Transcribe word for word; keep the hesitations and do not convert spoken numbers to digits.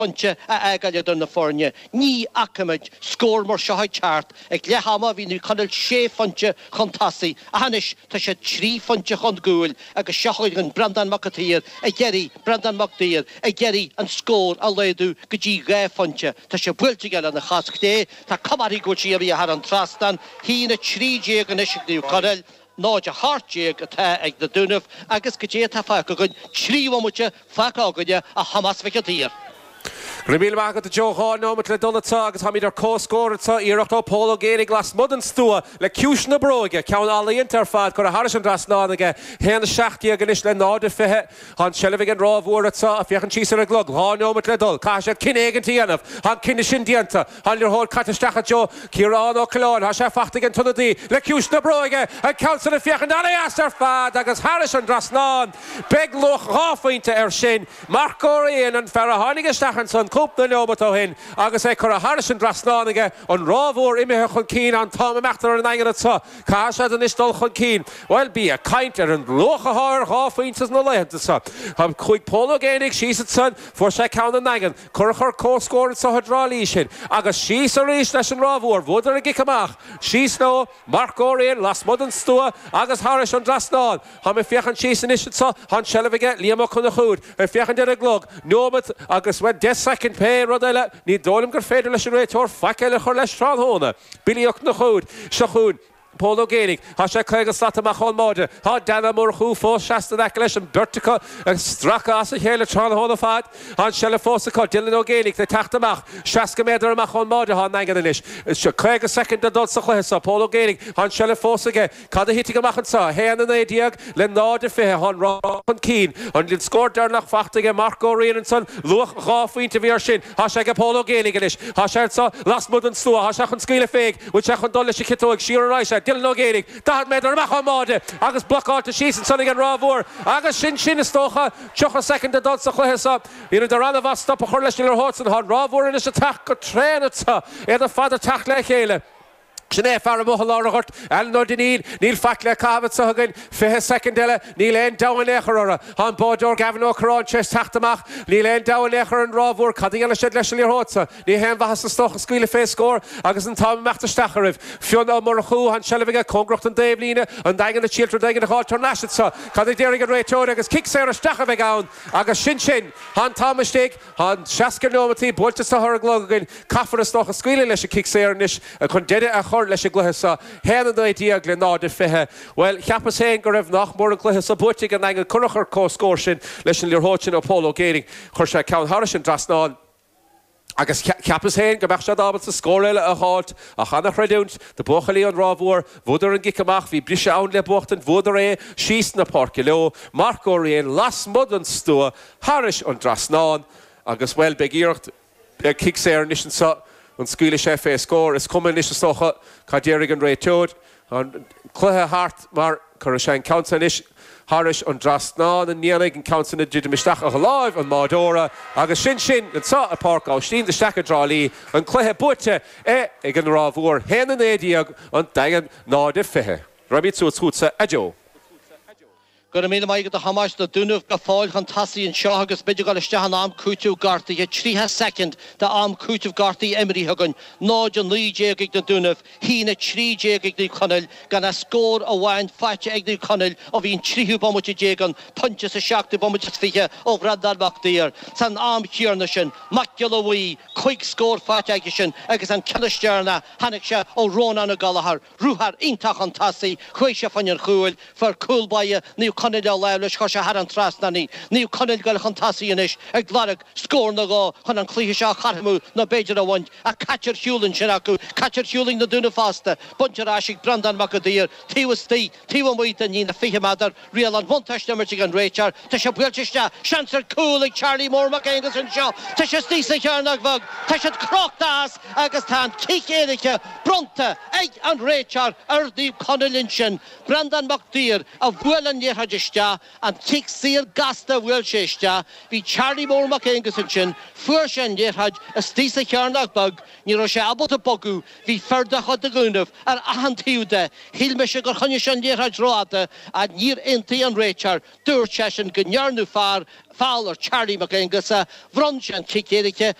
phointe a fhágáil idir na foirne. Ní fheicimid scór mar seo ag teacht. Ag leath ama bhí Naomh Conaill sé phointe chun tosaigh ach anois tá siad trí phointe chun cúil agus seo chugainn Breandán Mac an tSaoir ag iarraidh Breandán Mac Uidhir ag iarraidh an scór a laghdú go dtí dhá phointe. Tá sé buailte aige lena chos chlé. Tá cuma uirthi go bhfuil sí imithe thar an trasnán. Haon a trí déag anois ag Naomh Conaill. náid a hocht déag atá ag na Dúnaibh agus goidé atá fágtha againn, trí bhomaite fágtha againne a Thomáis Mhic an tSaoir. Go raibh míle maith agat a Joe. Dhá nóimeat le dul anseo agus táimid ar comhscór anseo. Iarracht ó Pól Ó Géibheannaigh lasmuigh den stua le ciumhais na bróige. Ceann ealaíonta ar fad curtha thairis an dtrasnán aige. Haon a seacht déag anois le náid a fiche. Tá an tseilbh ag an Ráth Mhór anseo ag féachaint síos ar an gclog. Dhá nóimeat le dul. Caithfidh siad cinneadh éigint a dhéanamh. Tá an cinneadh sin déanta. Tá an liathróid caite isteach i dtreo Ciarán Ó Coileáin. Tá sé faighte ag an t-ionadaí le ciumhais na bróige. An ceann san ag féachaint an-deas ar fad agus thairis an dtrasnán. Beidh luach dhá phointe air sin. Marc Ó Riain, an fear a tháinig isteach ansan cúpla neomat ó shin agus é curtha thairis an dtrasnán aige, an Ráth Mhór imithe chun cinn, an t-am imeachta ar an nDaingean anso. Caithfidh siad anois dul chun cinn. Bhuel, bí ag caint ar an luach atá ar dhá phointe sna laethanta seo. Chuaigh Pól Ó Géibheannaigh síos ansan, fuair sé ceann an Daingin, curach ar comhscór anso i dTrá Lí sin agus síos arís leis an Ráth Mhór. Bhuadar an gcic amach. Síos leo, Marc Ó Riain lasmuigh den stua agus thairis an dtrasnán. Táim ag féachaint síos anois anso, tá an tseilbh aige Liam Ó Conchúir. Ag féachaint ar an gclog, nóimeat agus, bhuel, deich soicind, pé rud eile, ní dóigh liom gur féidir leis an réiteoir faic eile a chur leis tráthnóna. Billy Ó Conchúir, seo chugainn Pól Ó Géibheannaigh, tá sé caoga slat amach ón mbáide, tá Dan Ó Murchú fós seasta in aice leis, an bheirt acu ag stracadh as a chéile tráthnóna fad. Tá an tseilbh fós acu, Dylan Ó Géibheannaigh ag teacht amach, seasca méadar amach ón mbáide atá an Daingean anois. Caoga soicind le dul sa chluiche seo, Pól Ó Géibheannaigh, tá an tseilbh fós aige. Cad a thitfidh amach anseo? A haon a naoi déag le náid a fiche. Tá an Ráth chun cinn. An scór deireanach faighte aige Marc Ó Riain ansan. Luach dhá phointe a bhí air sin. Tá sé aige Pól Ó Géibheannaigh anois. Tá sé anseo lasmuigh den stua. Tá sé chun scaoileadh fé. Bhfuil sé chun dul leis an chiotóig? Siar ar aghaidh sé. Dylan Ó Géibheannaigh, daichead méadar amach ón mbáide agus blocáilte síos ansan ag an Ráth Mhór. Agus sin sin, is dócha, tríocha soicind le dul sa chluiche seo. Dheineadar an-mhaith stop a chur leis an liathróid san. Tá an Ráth Mhór anois ag teacht go tréan anseo. Iad ar fad ag teacht le chéile. Sin é fear amuigh i lár an ghoirt, Alan Ó Duinnín. Níl faic le caitheamh anseo againn. Fiche soicind eile. Níl aon dabht in aon chor orthu. Tá an báideoir Gavin Ó Curráin tar éis teacht amach. Níl aon dabht in aon chor ar an Ráth Mhór cad a dhéanfaidh siad leis an liathróid seo. Ní haon mhaitheas is dócha scaoileadh fé scór agus an t-am imeachta isteach oraibh. Fionn Ó Murchú, tá an tseilbh aige cóngarach don dtaobhlíne. An Daingean ag triail rud éigin a dh'fháilt thar n-ais anseo. Cad a déarfaidh an réiteoir agus cic saor isteach a bheidh ann agus sin sin. Tá an t-am istigh. Tá an seasca neomataí buailte anseo ar an gclog againn. Caithfear is dócha scaoileadh leis an chic saor anois chun deireadh a chur leis an gcluiche seo. Haon a naoi déag le náid a fiche. Bhuel, cheapas féin go raibh nach mór an cluiche seo buaite ag an nDaingean curach ar comhscór sin leis an liathróid sin ó Pól Ó Géibheannaigh. Chuir sé ceann thairis an dtrasnán. Agus cheapas féin go mbeadh siad ábalta scór eile a dh'fháilt, ach ana-chreidiúint do bhuachaillí an Ráth Mhór, bhuadar an gcic amach, bhí briseadh ann le buachtaint, bhuadar é, síos na páirce leo, Marc Ó Riain lasmuigh den stua, thairis an dtrasnán, agus, bhuel, beidh iarracht ar chic saor anois anseo, an scaoilfidh sé fé scór? Is cuma anois is dócha cad déarfaidh an réiteoir. Tá an cluiche thart mar cuirfidh sé an ceann san anois thairis an dtrasnán, an ndéanfaidh an ceann san a druidim isteach i láimh an mbáideora agus sin sin anseo i Páirc Aibhistín de Staic i dTrá Lí, an cluiche buaite ag an Ráth Mhór, haon a naoi déag, an Daingean náid a fiche. Raghaimid suas chugatsa, a Joe. Go raibh míle maith agat a Thomáis, na Dúnaibh go fóill chun tosaigh anseo agus muid ag dul isteach in am cúiteamh gortaithe. Tríocha soicind d'am cúiteamh gortaithe imrithe againn. Náid a naoi déag ag na Dúnaibh, haon a trí déag ag Naomh Conaill, gan ach scór amháin faighte ag Naomh Conaill ó bhí an tríú bomaite déag ann, pointe sa seachtú bomaite is fiche ó Bhreandán Mac Uidhir. San am chéanna sin, Mac Giolla Bhuí, cúig scór faighte aigesean agus an ceann is deireanaí, tháinig sé ó Rónán Ó Gallchóir. Ruathar iontach chun tosaigh, chuaigh sé fá choinne an chúil, fuair cúl báire Naomh Conaill a lámh leis, chuir sé thar an trasnán í. Naomh Conaill ag dul chun tosaigh anois ag lorg scór nó dhó chun an cluiche seo a chothromú nó b'fhéidir a bhaint, ach caite ar shiúl ansin acu, caite ar shiúl ag na Dúnaibh fosta. Bainte ar ais ag Breandán Mac an tSaoir, taobh istigh, taobh amuigh den líne fiche méadar, riail an bhuntáiste imirt ag an réiteoir, tá sé buailte isteach, seans ar chúl ag Charlie Mór Mac Aonghusa anseo, tá sé istigh sa chearnóg bheag, tá siad crochta as agus tá an cic éirice bronnta ag an réiteoir ar Naomh Conaill ansin. Breandán Mac Duibhir a bhuail an liathróid isteach, an cic saor gasta a bhuail sé isteach. Bhí Charlie Mór Mac Aonghus ansin, fuair sé an liathróid istigh sa chearnóg beag, ní raibh sé ábalta bogadh, bhí fir de chuid na Dúnaibh ar achan taobh de. Shíl mise gur choinnigh sé an liathróid rófhada ach níor aontaigh an réiteoir. Dúirt seisean go ndearnadh fear feall ar Charlie Mac Aonghusa, bhronn sé an cic éirice.